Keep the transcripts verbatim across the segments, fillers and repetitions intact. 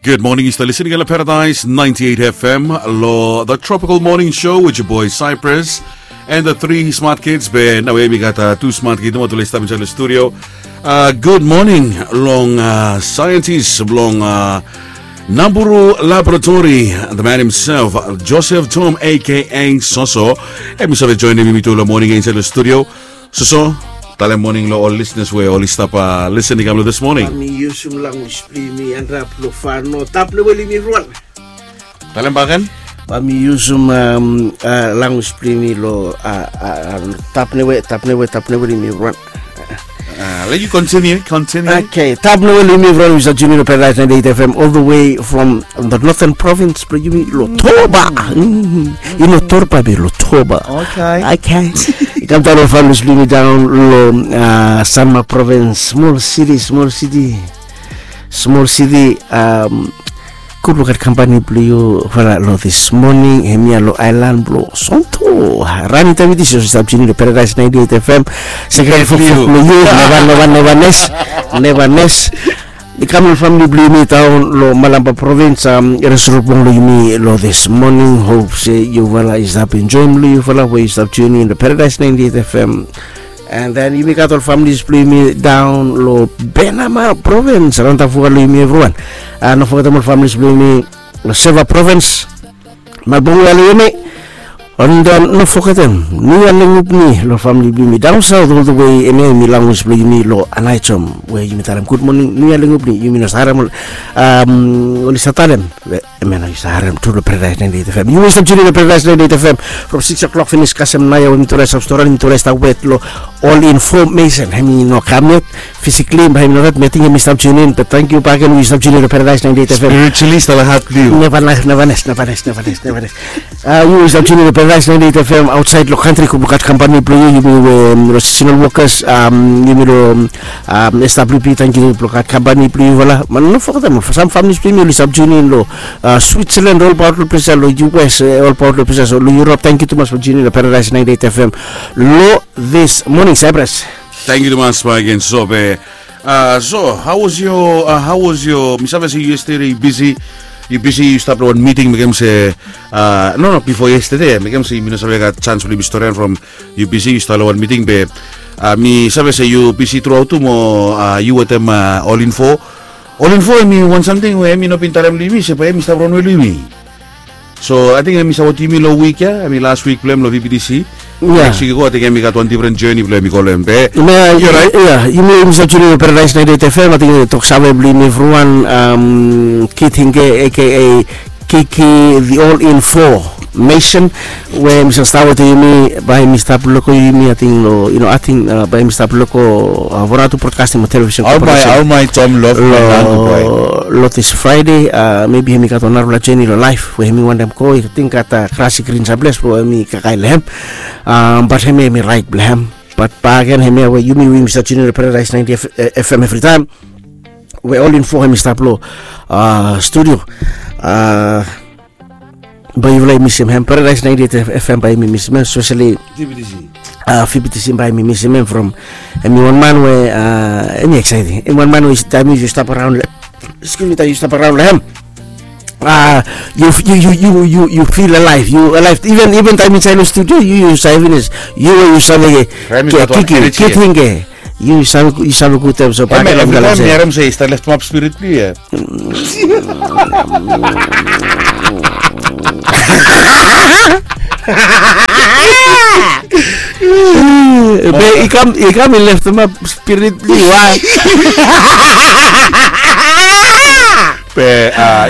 Good morning, yu stap listening lo Paradise ninety-eight F M, lo The Tropical Morning Show with your boy Cyprus and the three smart kids. Be naoia mi gat tu smart kid nomo tu oli stap insaed lo studio. Good morning long scientist blong Naburu Laboratory, the man himself, Joseph Tom, A K A Soso. Hemi save joinim yumi tu lo moning ya insaed lo studio. Soso, talem moning lo ol listeners we oli stap listening kam lo this morning. Bae mi yusum language blong yumi anrap lo fano, tapnewe long yumi evriwan. Talem bakegen. Bae mi yusum language blong yumi lo tapnewe, tapnewe, tapnewe long yumi evriwan. Let you continue, continue. Okay, tapnewe long yumi evriwan we i stap tuning in lo Paradise ninety-eight F M all the way from the northern province blong yumi lo Torba. I no Torba be lo Torba. Okay. Okay. I kam daon lo families blong yumi daon lo Sanma province, small city, small city, small city. Gud lukaot kampani blong yufala lo this morning, hemia lo aelan blo Sonto. Rani Tavitis i stap tuning lo Paradise ninety-eight F M. Sekerete fokfok blo yu, neva, neva, neva nes, neva nes. I kam lo famili blo yumi daon lo Malampa provins, Resurubong lo yumi lo this morning. Hop se yufala i stap enjoem lo yufala we i stap tuning lo Paradise ninety-eight F M. And then yumi gat ol families blo yumi daon lo Benama provins, Rantafuka lo yumi evriwan. No fogetem ol families blo yumi lo Seva provins, Malbongia lo yumi. And then no fogetem Nuia Lengupni lo famili blo yumi daon saot all the way, hemia hemi language blo yumi lo Anaitom we yumi talem gud moning Nuia Lengupni. Yumi no save harem ol, oli save talem, hemia no yu save harem tu lo Paradise ninety-eight F M. Yu we yu stap tuning lo Paradise ninety-eight F M from six o'clock finis kasem naoia we mitufala i stap storian, mitufala i stap wet lo ol information. Hemi no kam yet physically, bae hemi no gat, mi ating hemi stap tuning in, be tangkiu bakegen we yu stap tuning lo Paradise ninety-eight F M. Spiritually, stap lo hat blong yu. Neva nes, neva nes, neva nes, neva nes, neva nes. Yu we yu stap tuning lo Paradise ninety-eight F M aotsaed lo kantri, gud lukaot kampani blo yu, yumi we lo seasonal workers, yumi lo S W P, tangkiu blo gat kampani blo yufala. Be no fogetem sam families blo yumi oli stap tuning in lo Switzerland, olbaot lo ples ya lo U S, olbaot lo ples ya lo Europe. Tangkiu tumas blo tuning in lo Paradise ninety-eight F M lo this morning, Cyprus. Tangkiu tumas bakegen, Soso. Be, so, how was your, how was your, mi save se yesterday yu bisi, yu bisi, yu stap lo wan miting, mekem se, no, no, bifo yesterday, mekem se mi no save gat janis blo yumi storian from yu bisi, yu stap lo wan miting, be mi save se yu bisi truaot tu mo yu wetem All Info. All Info hemi wan samting we hemi no bin talem lo yumi se bae hemi stap ronwe lo yumi. So ating hemi sapotem yumi lo wik ya, hemi las wik blo hem lo V B T C. Neks wik i go ating hemi gat wan difren journey blo hem i go lo hem, be. Ia, yumi, yumi stap tuning lo Paradise ninety-eight F M, ating toksave blo yumi evriwan, Kid Hinge, A K A Kiki, the All Info Mason, we mi save stap wetem yumi, bae mi stap loko yumi, ating lo, yu no, ating bae mi stap loko Vanuatu Broadcasting mo Television Corporation. Lo this Friday, maybe hemi gat wan narafala journey lo laef we hemi wantem go, ating gat grass i grin samples blo hemi kakae lo hem. Bat hemia hemi raet blo hem. Bat bakegen hemia we yumi we yumi stap tuning lo Paradise ninety F M evritaem, we All Info hemi stap lo studio. Bae yufala i misim hem, Paradise ninety-eight F M bae yumi misim hem, especially V B T C. V B T C bae yumi misim hem from, hemi wan man we hemi exciting. Hemi wan man we taem yu stap araon, excuse me, taem yu stap araon lo hem, yu, yu feel alive, yu alive. Even, even taem insaed lo studio yu, yu save finis. Yu, yu save, Kiki, Kiki, Yu save, yu save gud taem so. Bae evri taem mi harem se i stap leftemap spirit blo yu ya. Be i kam, i kam i leftemap spirit blo yu a. Be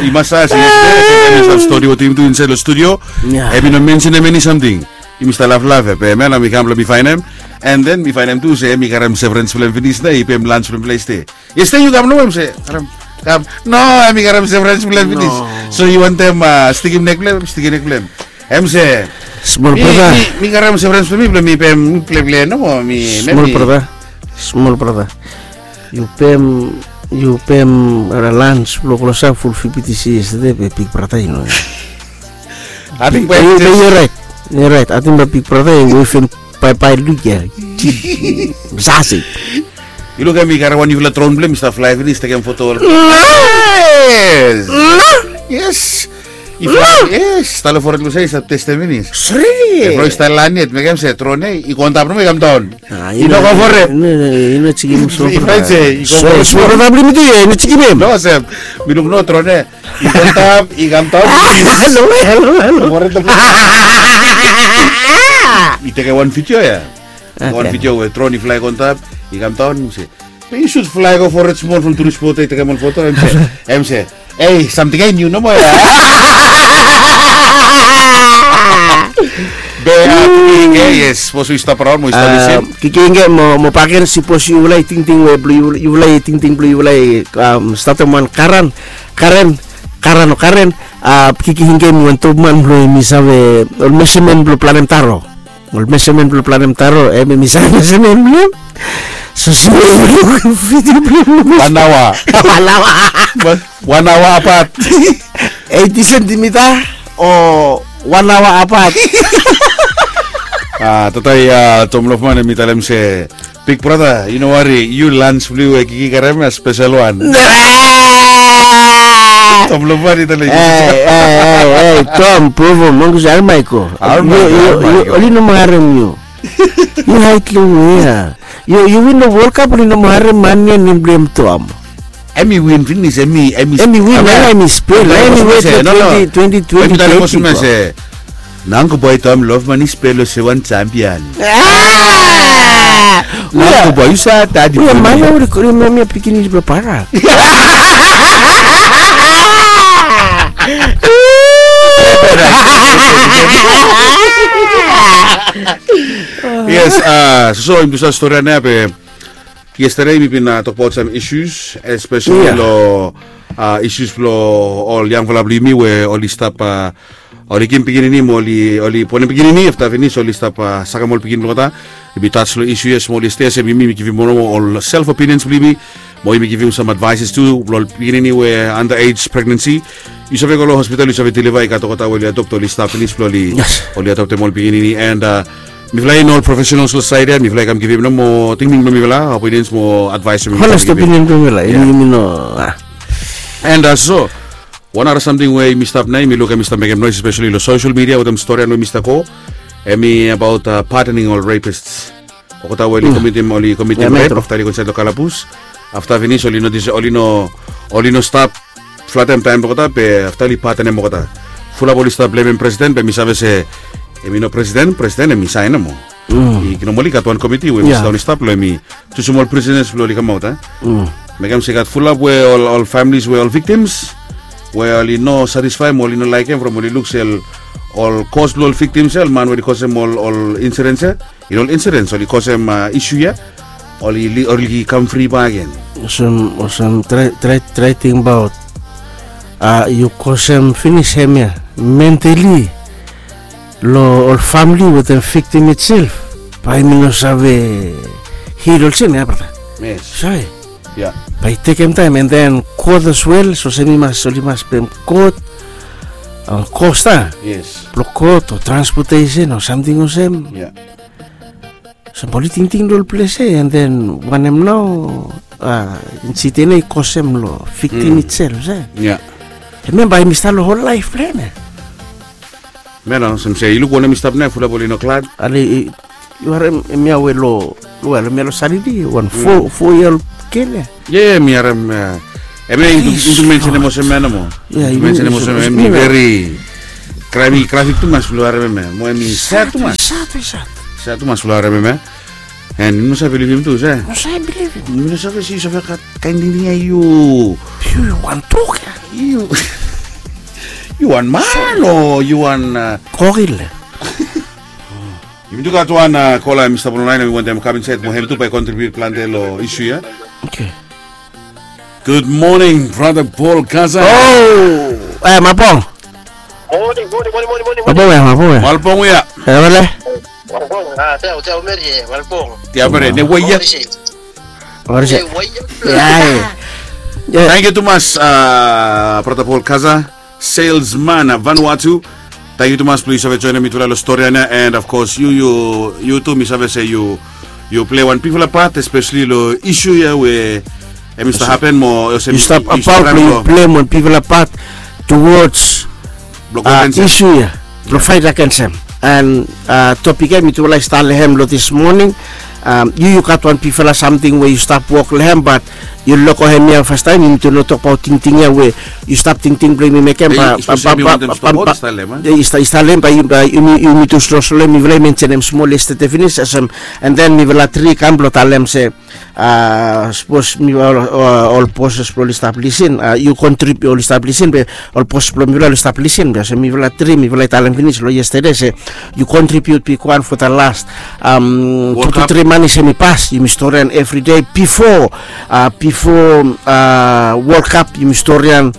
i mas save se yestede hemi stap stori wetem yumi tu insaed lo studio. Hemi no mensenem eni samting. Yumi stap laflaf ya, be hemia nao mi kam blo mi faenem. And then mi faenem tu se hemi karem severance blo hem finis nao i pem lunch blo hem lo yestede. Yestede yu kam nomo, hem se, karem, kam. No, hemi karem severance blo hem finis. So yu wantem stikim nek blo hem, stikim nek blo hem. Hem se, smol brata, mi karem severance blo mi, blo mi pem, mi plele nomo, mi, smol brata, smol brata. Yu pem, yu pem lunch blo klosap ful V B T C yestede, be big brata, yu no. Ating bae yu, yu raet. Yu raet. Ating bae big brata i wefim baebae luk ya. Sasi. Yu lukim, i karem wan niufala dron blong hem, i stap flae finis, tekem foto ol. Yes. Yes. I flae, yes. Tale fored blong hem i stap testem finis. Sriri. Bro, i stap lan yet, mekem se dron ia i go antap nomo, i kamdaon. I no go fored. I no jikim. I flae se i go fored. Brata blong mi tu ia, i no jikim hem. No, olsem, mi luk no dron ia. I go antap, i kamdaon. Halo, halo, halo. Fored. I tekem wan video ia. Wan video we dron i flae go antap, i kamdaon, mi se, be yu sud flae go fored smol from turis bot ia, i tekem ol foto, hem se, hem se, ei, samting ia i niu nomo ia. Be, a, Kiki Ingge, yes, sapos yu stap raon mo yu stap lusim. Kiki Ingge mo, mo Paken, sapos yufala i tingting we blong yu, yufala i tingting blong yufala i, am, statem wan karen, karen, karen o karen, a, Kiki Ingge hemi wan top man blong hemi save ol measurement blong planem taro. Ol measurement blong planem taro, hemi save measurement blong hem. So, so, video blong hem. Wan aoa. Wan aoa. Wan aoa apat. Eighty centimeter o wan aoa apat. A, tata ia, a, Tom Lofman hemi talem se, big brother, yu no wari, yu lunch blong yu we Kiki i karem ia spesel wan. Tom Lofman i talem. Ei, ei, ei, ei, Tom, Provo, Mongus, Almaiko. Almaiko, yu, yu, Almaiko. Oli no mo harem yu. Yu haed long we ia. Yu, yu win long World Cup, oli no mo harem man ia nem blong hem Tom. Hemi win finis, hemi, hemi, hemi win, hemi spel, hemi wet long twenty twenty, twenty twenty. Nangko boy Tom Lofman i spel olsem wan champion. Nangko boy, yu sa tadi. Ui, man ia oli rimem ia pikinini blong Barak. Yes, a, so, so, yumi tu save stori ia nao be yesterday mi bin, a, tokbaot sam issues, especially long, a, issues blong ol yangfala blong yumi we oli stap, a, oli kilim pikinini mo oli, oli bonem pikinini, afta finis oli stap, a, sakem ol pikinini blong olgeta. Yumi touch long issue ia smol yesterday, olsem yumi, mi givim wan ol self opinions blong yumi. Mo yumi givim sam advices tu blong ol pikinini we under age pregnancy. Yu save go long hospital, yu save deliver, i gat olgeta we oli adopt, oli stap finis blong oli, oli adoptem ol pikinini. And, a, mifala i no ol professionals long saed ia, mifala i kam givim nomo tingting blong mifala, opinions mo advice blong mifala. Honest opinion blong mifala, ia. Yumi no, a. And, a, so, wan nara samting we yumi stap nao, yumi luk hemi stap mekem noes, especially long social media wetem stori ia we hemi stap go. Hemi abaot, a, pardoning ol rapists. Olgeta we oli komitim, oli komitim rape, afta oli go insaed long kalabus. Afta finis oli no dis, oli no, oli no stap flatem taem blong olgeta, be afta oli padenem olgeta. Fulap oli stap blemem presiden, be mi save se hemi no presiden, presiden hemi saen nomo. I, i no, oli gat wan komiti we hemi sidaon i stap long hemi jusum ol prisoners blong oli kamaot, a. Mekem se i gat fulap we ol, ol families we ol victims we oli no satisfy mo oli no laekem from oli luk se ol, ol kos blong ol victims ia, ol man we oli kosem ol, ol incidents ia, i no, ol incidents oli kosem, a, issue ia, oli, oli kam fri bakegen. Olsem, olsem, trae, trae, trae tingbaot. A, yu kosem finis hemia mentally long ol famili wetem victim itself, bae hemi no save heal olsem ia, brata. Yes. Save. Ia. Bae i tekem taem, and then kot as well, so olsem i mas, oli mas pem kot, a, cost, a? Yes. Blong kot o transportation o samting olsem. Ia. Olsem bae oli tingting long ol ples ia, and then wanem nao, a, incident ia i kosem long victim itself, se? Ia. Hemia bae hemi stap long hol laef blong hem ia. Hemia nao olsem se, yu luk wanem i stap nao, fulap oli no glad. Ale, i, yu harem hemia we long, long, hemia long Satade, wan fo, fo yia ol gel ia. Ia, ia, mi harem, a, hemia yu tu, yu tu mensenem olsem hemia nomo. Ia, yu tu mensenem olsem hemia, hemi veri graphic, graphic tumas blong harem hemia. Mo hemi sad tumas. Sad, sad. Sad tumas blong harem hemia. And mi no save bilivim tu, se? No save bilivim. Mi no save se yu save gat kaen tingting ia, yu. Yu, yu wan dog ia. Yu, yu wan man o yu wan, a, kokil ia. Yumi tu gat wan, a, kola, Mista Blomlain, hemi wantem kam insaed mo hem tu bae i contribute plante long issue ia. Okay. Good morning, brother Paul Kaza. O, e, Malbong. Morning, morning, morning, morning, morning. Malbong ia, Malbong ia. Malbong ia. E, wale. Malbong, a, tia, tia, Mary, e, Malbong. Tia, Mary, ne wai ia. Morisi. Morisi. Ne wai ia. Ia, ia. Ia. Thank you tumas, a, brother Paul Kaza. Salesman, a, Vanuatu. Tangkiu tumas blong yu save joenem mitufala long stori ia, and of course yu, yu, yu tu mi save se yu, Yu pilai wan bigfala pat, espesali long isu ya we em i stap hapen mo olsem yu stap abaot blong yu pilai wan bigfala pat towards isu ya blong fait agens em. And topik ya mitufala i stat long em long dis moning. Yu yu gat wan bigfala samting we yu stap wok long em, bat yu loko hem ya fastaem, yumi tu no tokbaot tingting ya we yu stap tingting blong yumi mekem. Ba i stap long em, ba yumi tu sloslo mifala i mensenem smol yestede finis olsem. And then mifala tri i kam blong talem se, sapos mi ol boses blong oli stap lisin, yu kontribiut oli stap lisin be ol boses blong mifala oli stap lisin be olsem mifala tri mifala i talem finis long yestede se yu kontribiut bigwan fo da las tu tu tri manis em i pas, yumi storian evri dei bifo bifo World Cup yumi storian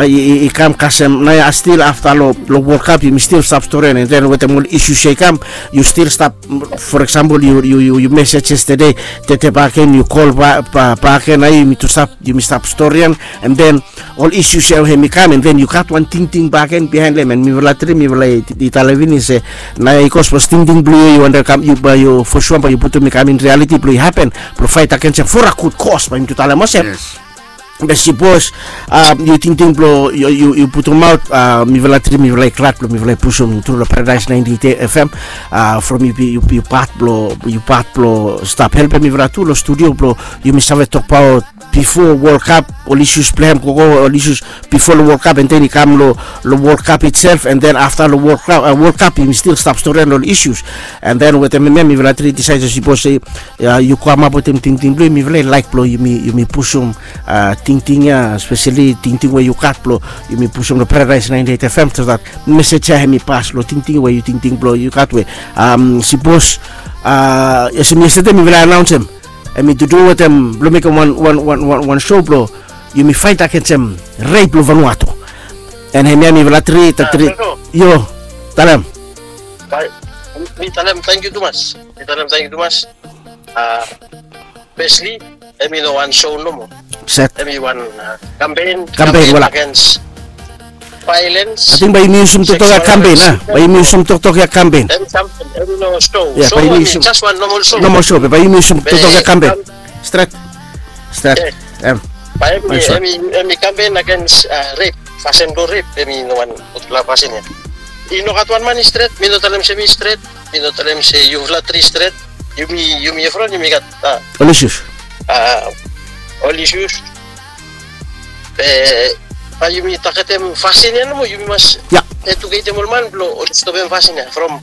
i kam kasem naoia stil afta long World Cup yumi stil stap storian, and then wetem ol isus ya i kam yu stil stap. For example, yu yu yu yu mesej yestede, tete baken yu kol baken, na yumi tu stap yumi stap storian, and then ol isus ya hem i kam, and then yu gat wan tingting baken bihaen long em, and mifala tri mifala i talem finis se naoia i go sapos tingting blong yu i wantaem kam yu bae yu fosua bae yu putum i kam in rialiti blong i hapen blong fait agens em for a gud kos bae yumi tu talem olsem. Be sipos yu tingting blong yu putumaot, mifala tri mifala i glad blong mifala i pusum tru long Paradise ninety eight F M. From yu yu pat blong yu pat blong stap helpem mifala tu long studio blong yumi save tokbaot bifo World Cup, ol isus blong hem gogo, ol isus bifo long World Cup, and then i kam long long World Cup itself, and then afta long World Cup, World Cup yumi stil stap storian long ol isus. And then wetem hemia mifala tri disaed se sipos se yu kamap wetem tingting blong yu, mifala i laek blong yumi yumi pusum tingting ya, spesali tingting we yu gat blong yumi pusum long Paradise ninety eight F M, so that mesej ya hem i pas long tingting we yu tingting blong yu gat we sipos olsem yestede mifala anaonsem, hem i tu du wetem blong mekem wan wan wan wan wan show blong yumi fait agensem rep long Vanuatu. And hemia mifala tri ta tri. Yo, talem. Mi talem tangkiu tumas. Mi talem tangkiu tumas. Firstly, hem i no wan show nomo. Set. Hem i wan kampen. Kampen wala. Against violence. Ating bae yumi yusum toktok ya kampen a? Bae yumi yusum toktok ya kampen. Hem i no show. Show hem i jas wan nomal show. Nomal show be bae yumi yusum toktok ya kampen. Stret. Stret. Bae hem i kampen agens rep. Fasin blong rep hem i no wan gudfala fasin ya. I no gat wan man i stret. Mi no talem se mi stret. Mi no talem se yufala tri stret. Yumi yumi evriwan yumi gat ol isus. Ol isus. Be bae yumi tagetem fasin ya nomo, yumi mas eduketem ol man blong oli stopem fasin ya from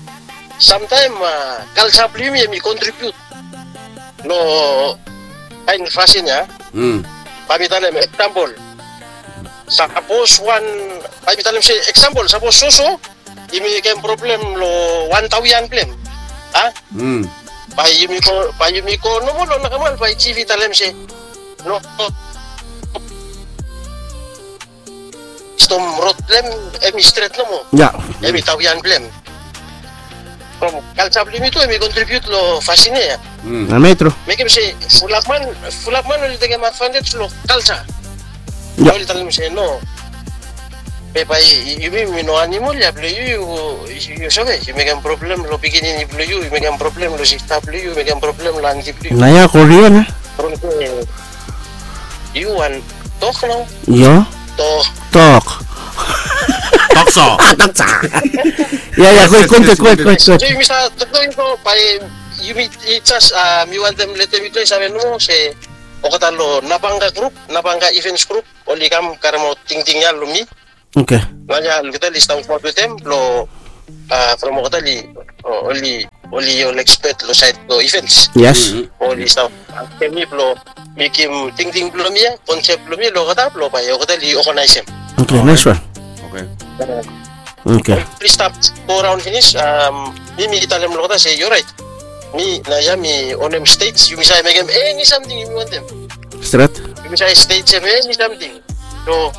samtaem. Kalja blong yumi hem i kontribiut long kaen fasin ya. Bae mi talem eksampol, sapos wan bae mi talem se eksampol sapos soso yumi mekem problem long wan taoian blong hem, a? Bae yumi go bae yumi go nomo long nakamal bae jif i talem se no, stom rod blong hem hem i stret nomo. Hem i taoian blong hem. From kalja blong yumi tu hem i kontribiut long fasin ya. Namai tru. Mekem se fulap man fulap man oli tekem advantej long kalja. Oli talem se no, be bae yumi mi no animol ya blong yu yu save yu mekem problem long pikinini blong yu yu mekem problem long sista blong yu yu mekem problem long anti blong yu. Naoia korea na. From se yu wan tok nao. Io. Tok. Tok. Tokso. Tokso. Ia ia go i go i go i go i go. So yumi save toktok i go bae yumi i jas mi wantem letem yutufala i save nomo se olgeta long Napanga grup, Napanga Events grup oli kam karemaot tingting ya long mi. Oke. Naoia olgeta oli stap wokbaot wetem blong from olgeta oli oli oli ol ekspet long saed blong events. Yes. Oli stap askem mi blong mekem tingting blong mi ya, konsep blong mi long olgeta blong bae olgeta oli oganaesem. Oke, naes wan. Oke. Oli stap go raon finis. Mi mi talem long olgeta se yu orait. Mi naoia mi onem stej, yumi save mekem eni samting yumi wantem. Stret. Yumi save stejem eni samting. So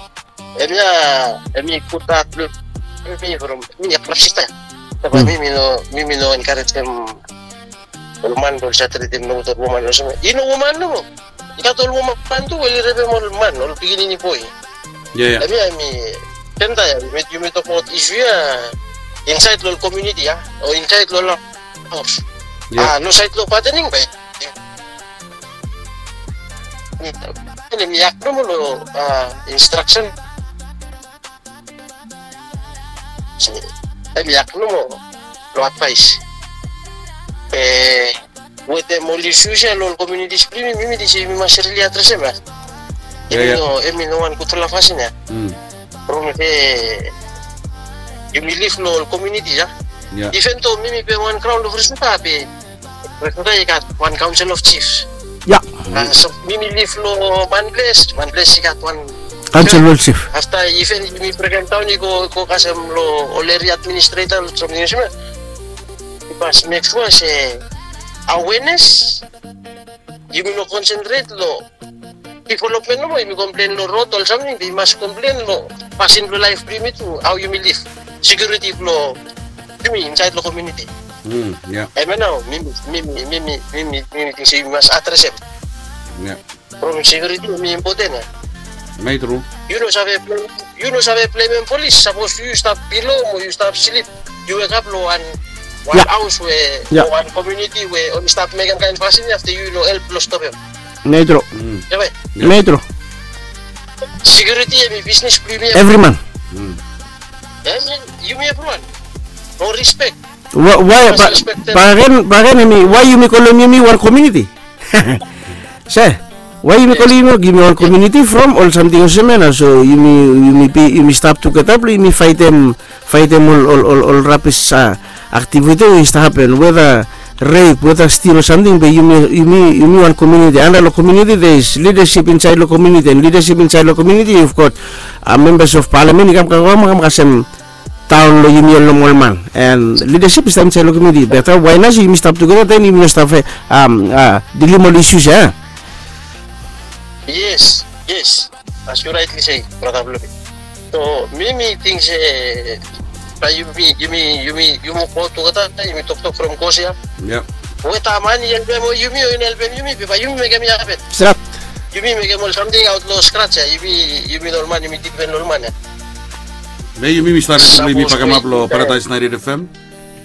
hemia hemi gud hat blong mi from mi ya klab sista ya. Taba mi mi no mi mi no enkarejem ol man blong oli save tritim nogut ol woman olsem ya. I no woman nomo, i gat ol woman tu we oli repem ol man, ol pikinini boe. Hemia hemi senta ya yumi tokbaot isu ya insaed long ol komuniti ya o insaed long ol haos. A long saed long patening bae Hemi yak nomo lo instraksen. Hemi yak nomo lo advaes. Wetem ol isus ya lo ol komunitis blong yumi, mi mi ting se yumi mas rili adresem ya. Hemi no, hemi no wan gudfala fasin ya. From se yumi liv lo ol komuniti ya. Even though mi mi be wan graon lo Fresno be Fresno i gat wan kaonsel of chiefs. Ya. So mi mi liv lo Manples, Manples i gat wan kaonsel of chief. Afta iven yumi Brigham Town i go, go kasem lo ol eria administreta lo samting olsem ya. I mas mek sua se awenes, yumi no konsentret lo developmen nomo, yumi komplen lo rod ol samting, be i mas komplen lo fasin blo laef blo yumi tu, hao yumi liv, sekiuriti blo yumi insaed lo komuniti. Hemia nao mi mi, mi mi, mi mi, mi mi ting se yumi mas adresem. From sekiuriti hemi impoten ya. Hemia i tru. Yu no save blem, yu no save blemem polis sapos yu stap bilo mo yu stap slip. Yu wekap lo wan, wan haos we, o wan komuniti we oli stap mekem kaen fasin ya, afta yu no help blo stopem. Hemia i tru. Hemia i tru. Sekiuriti hemi bisnis blo yumi evri man. Hemi yumi evriwan. No rispek. Wae, bagen, bagen hemi wae yumi kolem yumi wan komuniti? Se wae yumi kolem yumi, yumi wan komuniti from ol samting olsem ya nao. So yumi, yumi stap tugeta blo yumi faetem, faetem ol, ol, ol rabis aktiviti we i stap hapen, weda rep, weda stil o samting, be yumi, yumi, yumi wan komuniti. Anda lo komuniti there is lidasip insaed lo komuniti, and lidasip insaed lo komuniti you've got membas of palamen i kam, kam, kam kasem daon lo yumi ol nomal man. And lidasip i stap insaed lo komuniti. Be afta wae nao se yumi stap tugeta, then yumi no stap dilim ol isus ya? Yes, yes. As yu raetli se, brata blo mi. So mi mi ting se bae yumi, yumi, yumi, yumi go tugeta, yumi toktok from kos ya. Weta man i helpem yumi o i no helpem yumi, be bae yumi mekem i hapen. Stret. Yumi mekem ol samting aot lo skraj ya. Yumi, yumi no ol man, yumi dipen lo ol man ya. Be yumi, mi stap, yumi bakemap lo Paradise ninety-eight F M.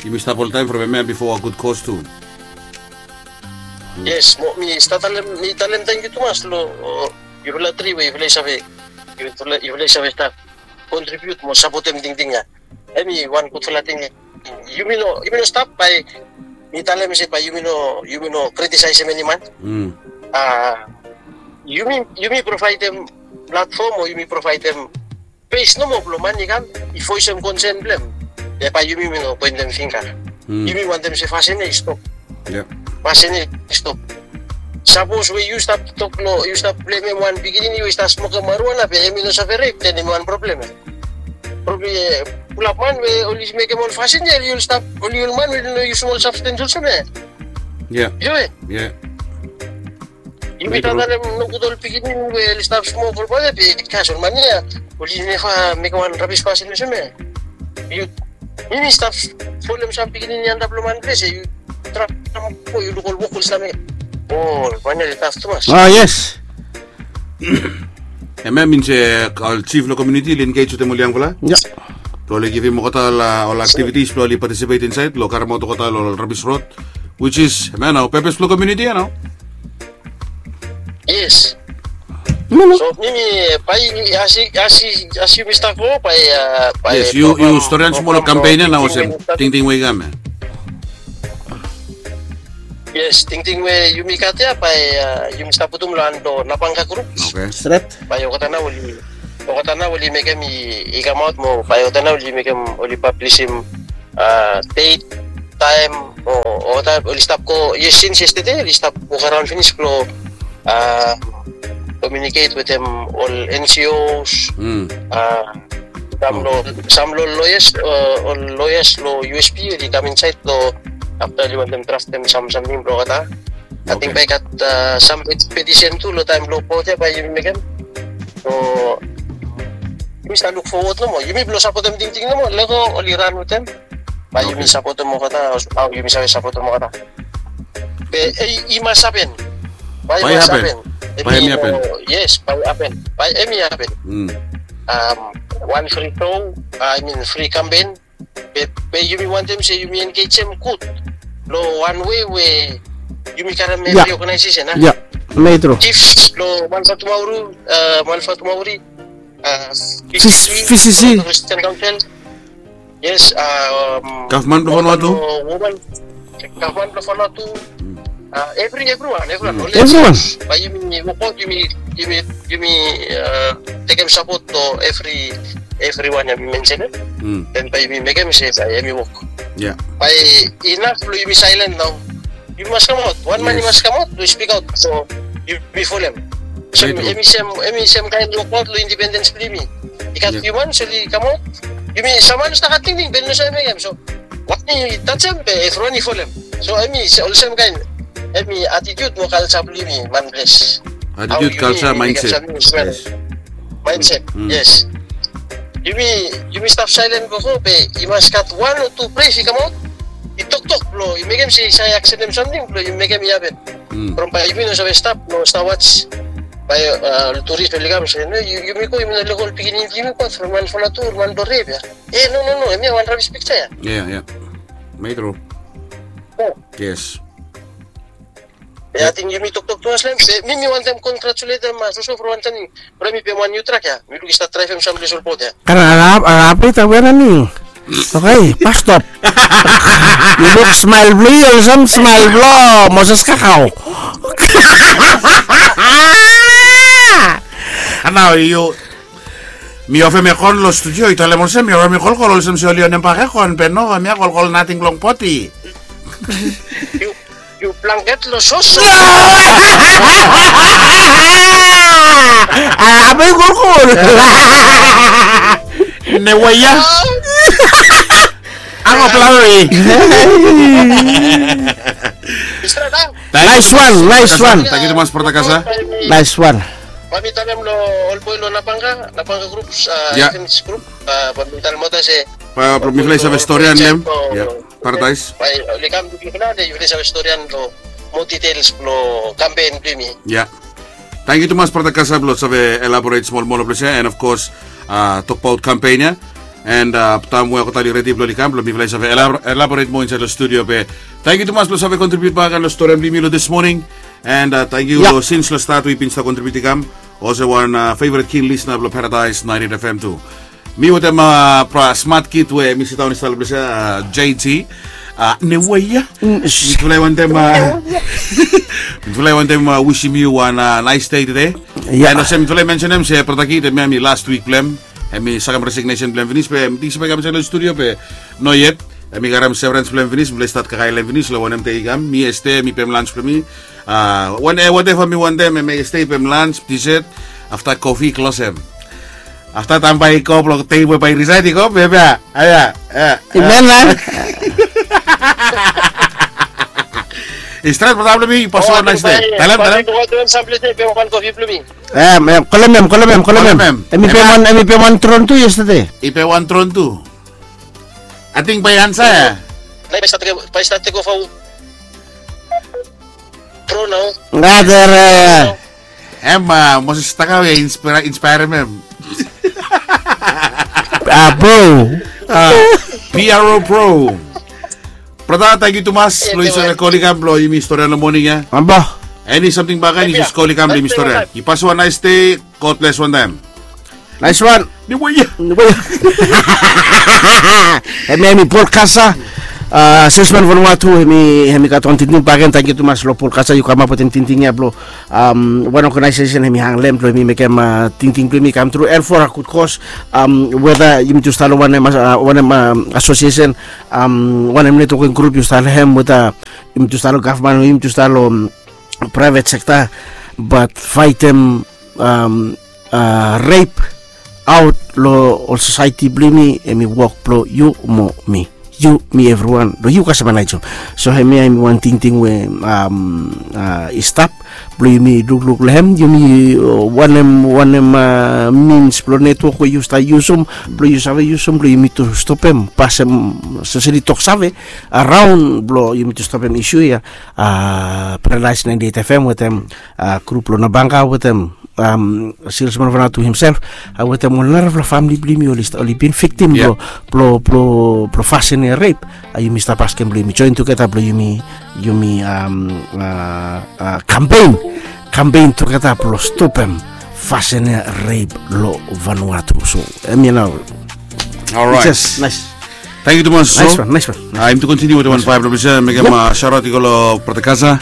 Yumi stap oltaem from hemia bifo a gud kos tu. Yes, mo mi stap talem, mi talem tangkiu tumas lo yufala tri we yufala i save, yufala i save stap kontribiut mo sapotem tingting ya. Hemi wan gudfala ting. Yumi no, yumi no stap bae mi talem se bae yumi no, yumi no kritisaesem eni man. A, yumi, yumi provaedem platfom o yumi provaedem pes nomo blo man i kam i voesem konsen blo hem. Be bae yumi mi no poentem fingga. Yumi wantem se fasin ya i stop. Fasin ya i stop. Sapos we yu stap tok lo, yu stap blemem wan pikinini we i stap smokem marijuana be hemi no save rep, then hemi wan problem ya. From pulap man we oli mekem ol fasin ya, oli stap, oli ol man we oli no yusum ol sabstens olsem ya. Yu we Yumi stap talem nogud ol pikinini we oli stap smok ol bae be kas ol man ya oli neva mekem wan rabis fasin olsem ya. Yu, yumi stap folem sam pikinini antap lo man ples ya, yu traem go yu luk ol wok oli stap mekem. O, ol man ya oli taf tumas. A, yes. Hemia i min se ol jif lo komuniti oli engej wetem ol yangfala blo oli givim olgeta ol aktivitis blo oli patisipet insaed lo karemaot olgeta lo ol rabis rod, which is hemia nao pepes blo komuniti ya nao. Yes. So mi mi bae as, as, as yumi stap go bae, a, bae. Yes, yu, yu storian smol lo kampen ya nao olsem tingting we i kam ya. Yes, tingting we yumi gat ya bae yumi stap putum lo han blo Napanga grup. Stret. Bae olgeta nao oli, olgeta nao oli mekem i, i kamaot mo bae olgeta nao oli mekem, oli pablisim a, det, taem o, olgeta oli stap go, yes, sins yestede oli stap wokaraon finis blo a, komiuniket wetem ol N G Os, a, sam lo, sam lo loyas, ol loyas lo U S P oli kam insaed lo afta oli wantem draftem sam, samting blo olgeta. Ating bae i gat sam petisen tu lo taem blo vot ya bae yumi mekem. So yumi stap luk fowod nomo, yumi blo sapotem tingting nomo, lego oli ran wetem. Bae yumi sapotem olgeta, hao yumi save sapotem olgeta. Be i mas hapen. Bae i mas hapen. Bae hemi hapen. Yes, bae hapen. Bae hemi hapen. Wan fri show, I mean fri kampen. Be, be yumi wantem se yumi engejem gud lo wan wei we yumi karem evri oganaesesen, a? Ya. Metro. Chiefs blo Manfatomauri, uh, Manfatomauri, uh, Fis- V C C, V C C. Christian Council. Yes, um, gavman blo Vanuatu. Woman, gavman blo Vanuatu. Uh, every, everyone, everyone. Everyone. Bae yumi wokbaot, yumi, yumi, yumi, uh, tekem sapot lo every, everyone ya mi mensenem. Den bae yumi mekem se bae hemi wok. Bae inaf blo yumi saelen nao. Yumi mas kamaot. Wan man i mas kamaot blo spik aot. So yumi folem. So hemi sem, hemi sem kaen wokbaot lo independens blo yumi. I gat fiu man oli kamaot. Yumi, sam man i stap gat tingting be i no save mekem. So wan i tajem be evriwan i folem. So hemi olsem kaen, hemi attitude mo kalja blo yumi manples. Attitude, kalja, mindset. Mindset, yes. Yumi, yumi stap saelen blo go be i mas gat wan o tu ples i kamaot, i toktok blo i mekem se i save akseptem samting blo i mekem i hapen. From bae yumi no save stap, no stap waj. Bae ol turis oli kam se, no, yumi go, yumi no lego ol pikinini blo yumi go from man Vanuatu, man blo rep ya. E, no, no, no, hemia wan rabis piksa ya. Ya, ya. Metro. Yes. Be ating yumi toktok tumas lo hem, be mi, mi wantem kongratuletem Soso blo wan samting. Bro, mi pem wan niu trak ya. Mi lukim i stap draevem samples olbaot ya. Karang, arap, arap, ita wera ni. Oke, pas stop. Yu luk smael blo yu olsem smael blo Moses Kakau. Nao yu, mi ofem ekon lo studio, yu talem olsem mi ofem kolkol olsem se oli onem bak ekon, be no, hemia kolkol nating long poti. Yu, yu blanket lo Soso. Bai kolkol. Ne waia. Amo plano e. Nice one, nice one. Tangkiu tumas, brata Kasa. Nice one. Bae mi talem lo ol boe lo Nabanga, Nabanga groups, events group, bae mi talem olgeta se, bae mifala i save storian lo hem. Ya. Paradais. Bae oli kam lukim mifala, de yufala i save storian lo moa details blo kampen blo yumi. Ya. Tangkiu tumas, brata Kasa, blo save elaborate smol moa lo ples ya, and of course, tokbaot kampen ya. And taem we olgeta oli redi blo oli kam, blo mifala i save elabor-, elaborate moa insaed lo studio be. Tangkiu tumas blo save kontribiut bak lo storian blo yumi lo this morning. And tangkiu lo sins lo stat we yu bin stap kontribiut i kam olsem wan favorite keen listener blo Paradise ninety-eight F M tu. Mi wetem bra smat kid we mi sidaon i stap lo ples ya, J T. Ne waia. Mifala i wantem, mifala i wantem wisim yu wan nice day tede. And olsem mifala i mensenem se brata kid, hemia hemi last wik blo hem. Hemi sakem resignation blo hem finis be mi ting se bae i kam insaed lo studio be no yet. Hemi karem severance blo hem finis, mifala i stat kakae lo hem finis lo wanem dei i kam. Mi yestede mi pem lans blo mi. Wan, whatever mi wantem, hemi yestede i pem lans, dessert, afta kofi, klosem. Afta taem bae i go blo dei we bae i resign i go, be hemia, ya, ya. Amen, man. I stret, brata blo mi, yu pasem wan nice day. Talem, talem. Kolem hem, kolem hem, kolem hem. Hemi pem wan, hemi pem wan tron tu yestede. I pem wan tron tu. Ating bae i ansa ya. Bae i stat, bae i stat tek ova. Bro nao. Brother. Hem, Moses Takau ya inspire, inspire hem. Bro. P R O bro. Brata, tangkiu tumas blo yu save kol i kam blo yumi storian lo moning ya. Eni samting bak ya, yu jes kol i kam blo yumi storian. Yu pasem wan nice day. God bless wan taem. Nice one. Hemia hemi Paul Kasa, salesman Vanuatu, hemi, hemi gat wan tingting bakegen. Tangkiu tumas lo Paul Kasa, yu kamap wetem tingting ya blo, wan organization hemi hang lo hem blo hemi mekem tingting blo hemi kam tru, and for a good cause. Weda yumitu stap lo wanem, wanem association, wanem networking group yu stap lo hem, weda yumitu stap lo gavman o yumitu stap lo private sector, bat faetem rape aot lo ol sosaeti blo yumi, hemi wok blo yu mo mi. Yu, mi, evriwan, lo yu kasem Elijah. So hemia hemi wan tingting we i stap blo yumi lukluk lo hem, yumi wanem, wanem means blo network we yu stap yusum blo yu save yusum blo yumitu stopem pasem, especially toksave araon blo yumitu stopem issue ya. Paradise ninety-eight F M wetem grup lo Nabanga wetem salesman Vanuatu himself, wetem ol narafala famili blo yumi oli bin victim blo, blo, blo fasin ya rape. Yumi stap askem blo yumi join tugeta blo yumi, yumi kampen. kampen tugeta blong stopem fasin ya, rep long Vanuatu. So em ya nao. Orait. Yes, nice. Thank you tumas. Nice one, nice one. Aim tu kontiniu wetem wan vibe long bisa mekem sharaut i go long Pratakasa.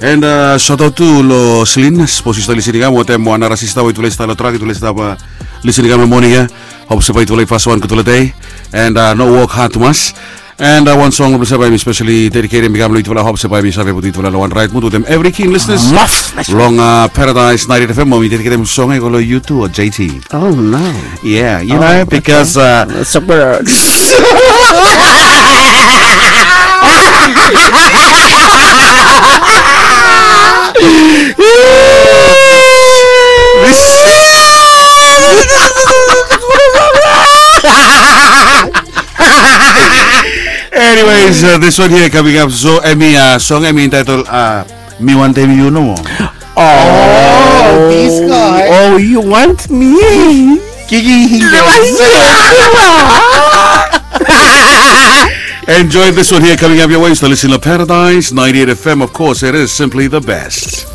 And sharaut tu long Selina, sapos yu stap lisin i kam wetem wan nara sista we yutufala i stap long trak, yutufala i stap lisin i kam long moning ya. Hop se bae yutufala i faswan gutfala dei. And no wok had tumas. And wan song blong se bae mi spesali dediketem i kam long yutufala, hop se bae mi save putum yutufala long wan rait mud wetem evri keen lisenas. Long Paradise ninety-eight F M, mo mi dediketem song ya i go long yu tu, J T. Oh no. Yeah, you know, because uh, super. Anyways, uh, this one here coming up. So, Emmy, uh, song Emmy entitled uh, Mi Wantem Yu Nomo. Oh, this guy. Oh, you want me? Kiki. Enjoy this one here coming up your way. Still listening to Paradise ninety-eight F M. Of course, it is simply the best.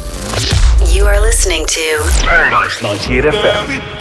You are listening to Paradise ninety-eight F M.